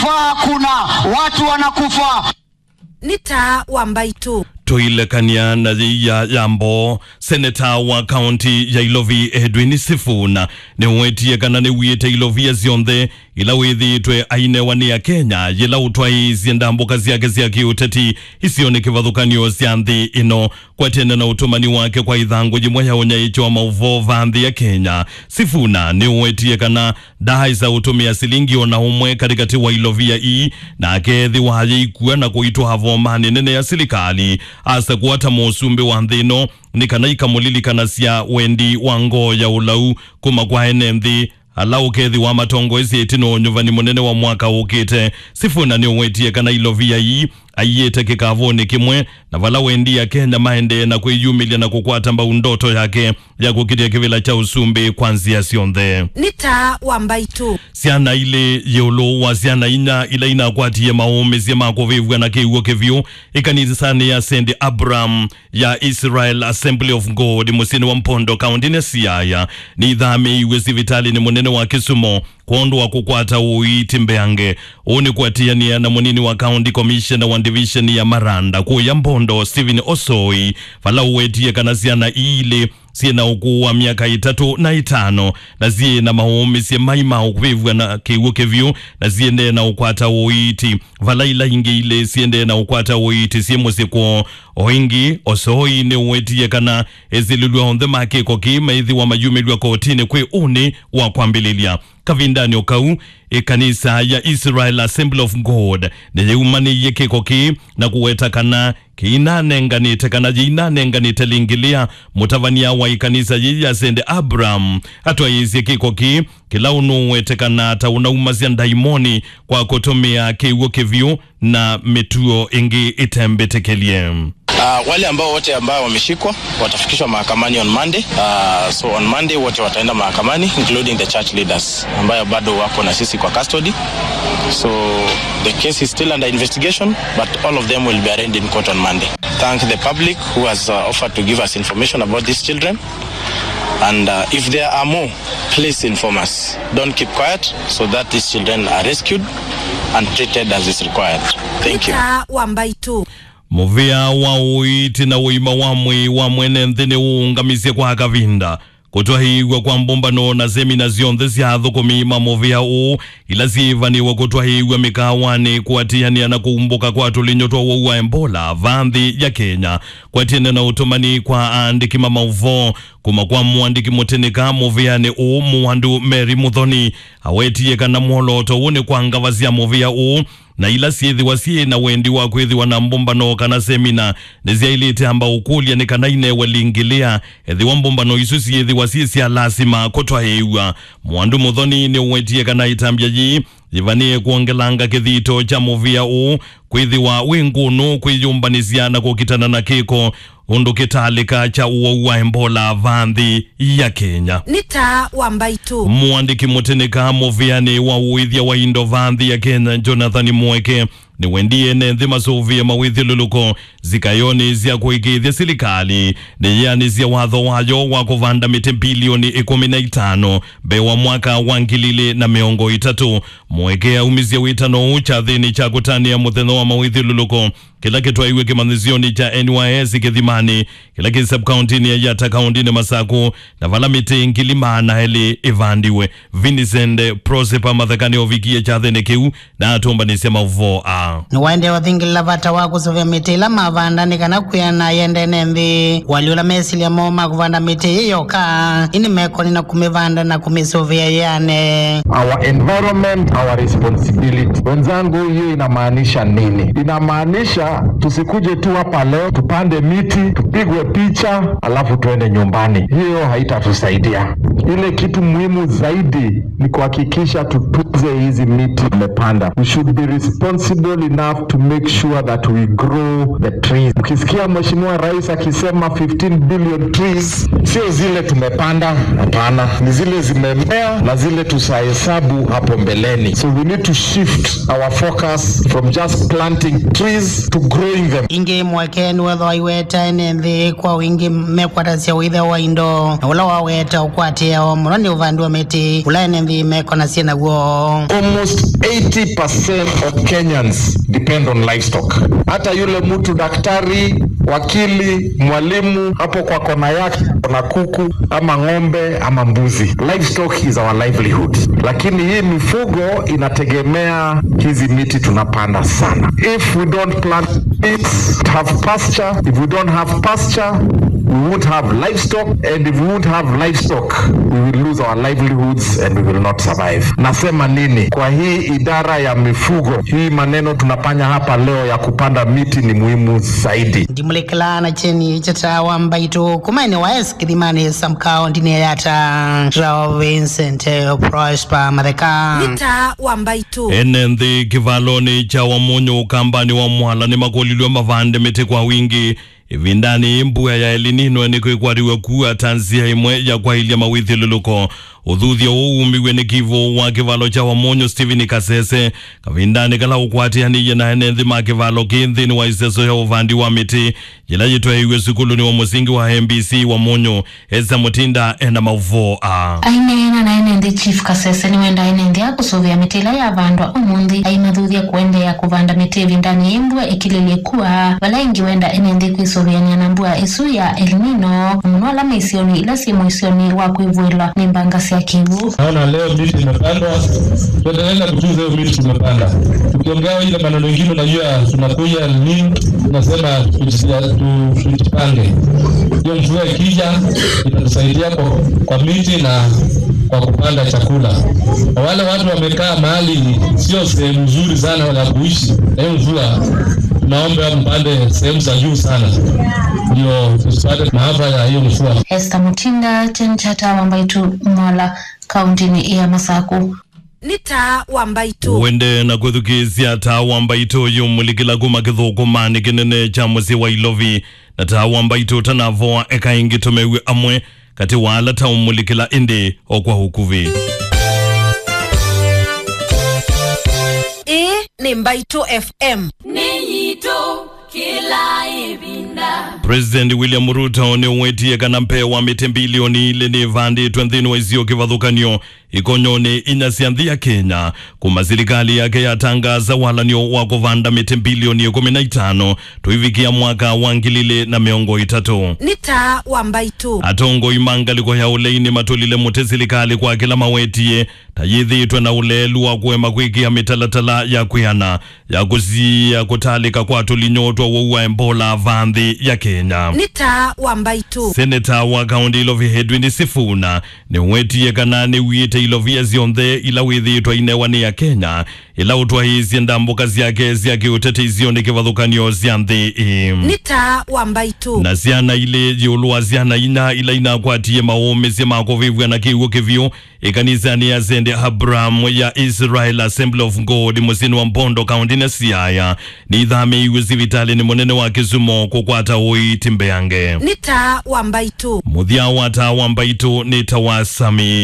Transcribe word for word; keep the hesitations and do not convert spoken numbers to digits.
Fa kuna watu wanakufa. Nĩ taa wa mbaitũ. Tũilekany'a na yĩia ya mboo, seneta wa kaunti ya Ilovi Edwin Sifuna nĩwetie kana nĩw'ĩte ilovia syonthe ila wĩthĩĩtwe ainewa nĩ Akenya yĩla ũtwaĩĩsye ndambũka syake sya kĩũteti isionĩ kĩvathũkany'o sya nthĩ ĩno. Kwatene na ũtũmani wake kwa ĩthangũ yĩmwe ya ũnyaĩĩkyo wa maũvoo va nthĩ ya Kenya, Sifuna nĩwetie kana ndaaĩsa ũtũmĩa silingi o na ũmwe katĩkatĩ wa ilovia ii, na akeethĩwa ayĩikua na kũitwaa vomanĩ nene ya silikalĩ, asa kũata mũsumbĩ wa nthĩ ĩno, nĩ kana ikamũlilikanasya wendi wa ngoo ya ũlau kuma kwa ene nthĩ ala ũkethĩwa matongoesye ĩtina wa ũnyuvani mũnene wa mwaka ũkĩte. Sifuna nĩũwetie kana ilovia ii aiĩte kĩkavũnĩ kĩmwe na vala wendi Akenya maendee na kwĩyumĩlya na kũkwata mbau ndoto yake ya kũkitĩa kĩvĩla kya ũsumbĩ kwa nzĩa syonthe. Nĩ taa wa mbaitũ. Syana ilĩ ĩũlũ wa syana inya ila inakwatie maũmĩsye ma kũvĩvw'a na kĩw'ũ kĩvyũ ĩkanisanĩ ya Saint Abraham ya Israel Assembly of God mũsyĩnĩ wa Mpondo, kaũntĩnĩ ya Siaya, nĩithamĩĩiw'e sivitalĩnĩ mũnene wa Kisumu kwondũ wa kũkwata ũiiti mbeange. Ũũ nĩ kũatĩanĩa na mũnini wa County Commissioner wa Division ya Maranda kũya Mbondo, Stephen Osoi, vala ũwetie kana syana ii ilĩ syĩ na ũkũũ wa myaka ĩtatũ na ĩtano, na syĩ na maũmĩsye mai ma ũvĩvw'a na kĩw'ũ kĩvyũ, na syĩendee na ũkwata ũiiti, vala ila ingĩ ilĩ syĩendee na ũkwata ũiiti syĩ mũsyĩ kwoo. O ĩngĩ, Osoi nĩũwetie kana esĩlĩlw'a onthe ma kĩko kĩĩ maĩthĩwa mayumĩlw'a kotinĩ kwĩ ũnĩ wa kwambĩlĩlya. Kavindanĩ o kau, ĩkanisa ya Israel Assembly of God nĩyĩumanĩie kĩko kĩĩ na kũweta kana kĩinanenganĩte kana yĩinanenganĩte lĩngĩlĩa mũtavany'a wa ĩkanisa yĩĩ ya Saint Abraham atwaĩĩsye kĩko kĩĩ kĩla ũnũũwetekana ta ũnaumasya ndaimoni kwa kũtũmĩa kĩw'ũ kĩvyũ na mĩtuo ĩngĩ ĩtembĩtĩkĩlye. Uh, wale ambao wote ambao wameshikwa watafikishwa mahakamani on Monday. Uh, so on Monday wote wataenda mahakamani, including the church leaders ambayo bado wako na sisi kwa custody. So the case is still under investigation, but all of them will be arraigned in court on Monday. Thank the public who has, uh, offered to give us information about these children. And, uh, if there are more, please inform us. Don't keep quiet so that these children are rescued and treated as is required. Thank you. Nĩ taa wa mbaitũ. Mũvĩa wa ũiiti na ũima wa mwĩĩ wa mwene nthĩ nĩũũngamisye kwa kavinda kũtwaĩĩw'a kwa mbũmbano na semina syonthe sya athũkũmi ma mũvĩa ũũ ila syĩĩvanĩwe kũtwaĩĩw'a mĩkaawanĩ kũatĩanĩa na kũumbũka kwa tũlinyũ twa ũwau wa Ebola va nthĩ ya Kenya. Kwatene na ũtũmani kwa aandĩki ma maũvoo kuma kwa mũandĩki mũtĩnĩka mũvĩanĩ ũũ, Mũwandu Mary Muthoni awetie kana mwolooto ũũ nĩ kwa ngava sya mũvĩa ũũ na ila syĩthĩwa syĩ na wendi wa kwĩthĩwa na mbũmbano kana semina nĩsyaĩlĩte amba ũkũlya nĩ kana inewe lingĩlĩa ethĩwa mbũmbano isu syĩthĩwa syĩ sya lasima kũtwaĩĩw'a. Mwandu Mũthoni nĩũwetie kana ĩtambya yĩĩ yĩvanĩe kwongelanga kĩthito kya mũvĩa ũũ kwĩthĩwa wĩ ngũnũ kwĩyũmbanĩsya na kũkitana na kĩko ũndũ kĩtalĩka kya ũwau wa Ebola va nthĩ ya Kenya. Nĩ taa wa mbaitũ. Mũandĩki mũtĩnĩka mũvĩanĩ wa ũĩthya wa indo va nthĩ ya Kenya, Jonathan Mweke, nĩwendie ene nthĩ masũvĩe mawĩthyũlũlũko zikayonĩ sya kũĩkĩĩthya silikalĩ nĩyĩanĩsya watho wayo wa kũvanda mĩtĩ mbilioni ĩkũmi na itano mbee wa mwaka wa ngili ilĩ na mĩongo ĩtatũ. Mweke aumisye wĩtano ũũ kyathĩnĩ kya kũtanĩa mũthenya wa mawĩthyũlũlũko kĩla kĩtwaiwe kĩmanyĩsyonĩ kya N Y S Kĩthimanĩ, kĩla kĩ sub-kaũntĩnĩ ya Yatta kaũntĩnĩ Masaku, na vala mĩtĩ ngili maana elĩ ĩvandiwe. Vincent Prosepa Matheka nĩovikie kyathĩnĩ kĩu na atũmbanĩsya maũvoo aa. Nĩwaendee ũthingĩlĩla vata wa kũsũvĩa mĩtĩ ĩla mavanda nĩ kana kwĩana yendene nthĩ. Wali ũla mesilya moo ma kũvanda mĩtĩ ĩĩ yoka, ĩndĩ mekoni na kũmĩvanda na kũmĩsũvĩa yĩane. Our environment, our responsibility. Wenzangu, hiyo inamaanisha nini? Inamaanisha tusikuje tu hapa leo, tupande miti, tupigwe picha, alafu tuende nyumbani. Hiyo haitatusaidia. Ile kitu muhimu zaidi ni kuhakikisha tutunze hizi miti tumepanda. We should be responsible. enough to make sure that we grow the trees. Ukisikia Mheshimiwa Rais akisema fifteen billion trees, sio zile tumepanda, hapana, ni zile zimemea na zile tutahesabu hapo mbeleni. So we need to shift our focus from just planting trees to growing them. Ĩngĩ mweke nĩwethwa aiweta ene nthĩ kwa wingĩ mekwatasya ũĩthya wa indo, na ũla waweta ũkwatĩao mũno nĩ ũvandi wa mĩtĩ, ũla ene nthĩ mekonasya naw'o. Almost eighty percent of Kenyans depend on livestock. Hata yule mtu daktari, wakili, mwalimu, hapo kwa kona yake kuna kuku ama ng'ombe ama mbuzi. Livestock is our livelihood. Lakini hii mifugo inategemea hizi miti tunapanda sana. If we don't plant trees, have pasture, if we don't have pasture, we won't have livestock, and if we won't have livestock, we will lose our livelihoods and we will not survive. Nasema nini? Kwa hii idara ya mifugo, hii maneno tunafanya hapa leo ya kupanda miti ni muhimu zaidi. Ndimulekela na kyeni kya Taa wa Mbaitũ kuma ene wa West Kĩthimanĩ Sub County nĩ Yatta, Rao Vincent, eh, Prosper Matheka. Nĩ Taa wa Mbaitũ. Ene nthĩ kĩvalonĩ kya Wamunyu Ũkambanĩ wa Mwala nĩmakũlilw'e mavande mĩtĩ kwa wingĩ ĩvindanĩ yĩĩ mbua ya El Nino nĩkwĩkwatĩw'a kua ta nzĩa ĩmwe ya kwaĩlya mawĩthyũlũlũko. Ũthuthyo ũũ wumiw'e nĩ kivũ wa kĩvalo kya Wamunyu Stephen Kasese kavindanĩ kala ũkwatĩanĩie na ene nthĩ ma kĩvalo kĩĩ nthĩnĩ wa ĩseso ya ũvandi wa mĩtĩ yĩla yĩtwaĩiw'e sukulunĩ wa mũsingi wa M B C Wamunyu. Esther Mutinda ena maũvoo aa. Aineena na ene nthĩ, Chief Kasese nĩwenda ene nthĩ aa kũsũvĩa mĩtĩ ĩla yavandwa ũmũnthĩ, aimathuthya kũendeea kũvanda mĩtĩ ĩvindanĩ yĩĩ mbua ĩkilĩlye kua, vala ĩngĩ wenda ene nthĩ kwĩsũvĩanĩa na mbua ĩsu ya El Nino, na mũno ala me isionĩ ila syĩ mũisyonĩ wa kwĩvũĩlwa nĩ mbanga sya kĩw'ũ. Naona leo miti imepandwa, tuendelee na kutunza hiyo miti tumepanda. Tukiongea ile maneno ingine, unajua tunakuja nini, tunasema tujisia-, tu-, tujipange. Hiyo mvua ikija, itatusaidia kwa, kwa miti na kwa kupanda chakula. Na wale watu wamekaa mahali sio sehemu nzuri sana ya kuishi, na hiyo mvua, tunaomba mpande sehemu za juu sana, ndio tusipate maafa ya hiyo mvua. Esther Mutinda, Kyeni kya Taa wa Mbaitũ, Mwala, kauntinĩ ya Masaku. Nĩ Taa wa Mbaitũ. Wende na kwĩthukĩĩsya Taa wa Mbaitũ ũyũmũlikĩla kuma kĩthũkũmanĩ kĩnene kya mũsyĩ wa Ilovi. Na Taa wa Mbaitũ ũtanavoa, eka ĩngĩ tũmew'e amwe katĩ wa ala taũmũlikĩla ĩndĩ o kwa ũkuvĩ. Ĩĩ nĩ Mbaitũ F M. Nĩ yitũ kĩla ĩvinda. President William Ruto nĩwetie kana mbee wa mĩtĩ mbilioni ilĩ nĩvandĩtwe nthĩnĩ wa isio kĩvathũkany'o ikonyonĩ inya sya nthĩ ya Kenya, kuma silikalĩ yake yatangaasa walan'yo wa kũvanda mĩtĩ mbilioni ĩkũmi na itano tũivikĩa mwaka wa ngili ilĩ na mĩongo ĩtatũ. Nĩ Taa wa Mbaitũ. Atongoi ma ngalĩko ya ũlei nĩmatũlile mũtĩ silikalĩ kwa kĩla mawetie ta yĩthĩĩtwe na ũleelu wa kũema kwĩkĩa mĩtalatala ya kwĩana ya kũsiĩĩa kũtalĩka kwa tũlinyũ twa ũwau wa Ebola vaa nthĩ ya Kenya. Nĩ Taa wa Mbaitũ. Seneta wa kaũntĩ Ilovi Edwin Sifuna nĩwetie kana nĩwiĩte ilovia syonthe ila wĩthĩĩtwe ainewa nĩ Akenya, ĩla ũtwaĩĩsye ndambũka syake sya kĩũteti isionĩ kĩvathũkany'o sya nthĩ ĩĩ. Nĩ Taa wa Mbaitũ. Na syana ilĩ ĩũlũ wa syana inya ila inakwatie maũmĩsye ma kũvĩvw'a na kĩw'ũ kĩvyũ ĩkanisanĩ ya Saint Abraham ya Israel Assembly of God mũsyĩnĩ wa Bondo, kaũntĩnĩ ya Siaya, nĩithamĩĩiw'e sivitalĩnĩ mũnene wa Kisumu kũkwata ũiiti mbeange. Nĩ Taa wa Mbaitũ. Mũthya wa Taa wa Mbaitũ nĩ ta wa Sami.